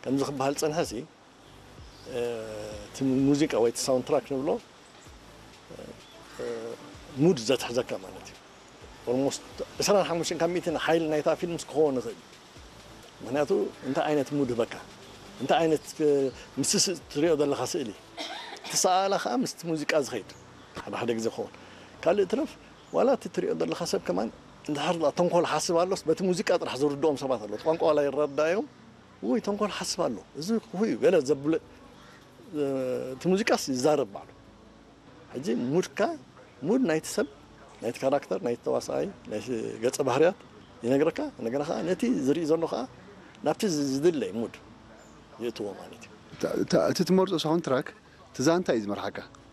ከምዚ ክበሃል ዝጸንሐ ሲ እቲ ሙዚቃ ወይ እቲ ሳውንድ ትራክ ንብሎ ሙድ ዘትሕዘካ ማለት እዩ። ኦልሞስት ዕስራን ሓሙሽተን ካብ ሚእትን ሓይሊ ናይታ ፊልምስ ክኸውን ይኽእል እዩ። ምክንያቱ እንታይ ዓይነት ሙድ ህበካ፣ እንታይ ዓይነት ምስ ትሪኦ ዘለካ ስእሊ፣ እቲ ሰኣላ ከዓ ምስቲ ሙዚቃ ዝኸይድ ሓደ ሓደ ግዜ ክኸውን። ካልእ ትረፍ ዋላ እቲ ትሪኦ ዘለካ ሰብ ከማን እንድሕር ተንኮል ሓስብ ኣሎስ በቲ ሙዚቃ ጥራሕ ዝርድኦም ሰባት ኣለዉ። ቋንቋ ዋላ ይረዳዮም፣ ውይ ተንኮል ሓስብ ኣሎ፣ እዚ ክፉእ እዩ ገለ ዘብለ እቲ ሙዚቃስ ይዛረብ ባዕሉ። ሕጂ ሙድካ ሙድ ናይቲ ሰብ ናይቲ ካራክተር ናይቲ ተዋሳኣይ ናይቲ ገጸ ባህርያት ይነግረካ። እንደገና ከዓ ነቲ ዝርኢ ዘሎ ከዓ ናብቲ ዝድለይ ሙድ ይእትዎ ማለት እዩ። እቲ ትመርፆ ሳውንድ ትራክ እቲ ዛንታ እዩ ዝመርሓካ።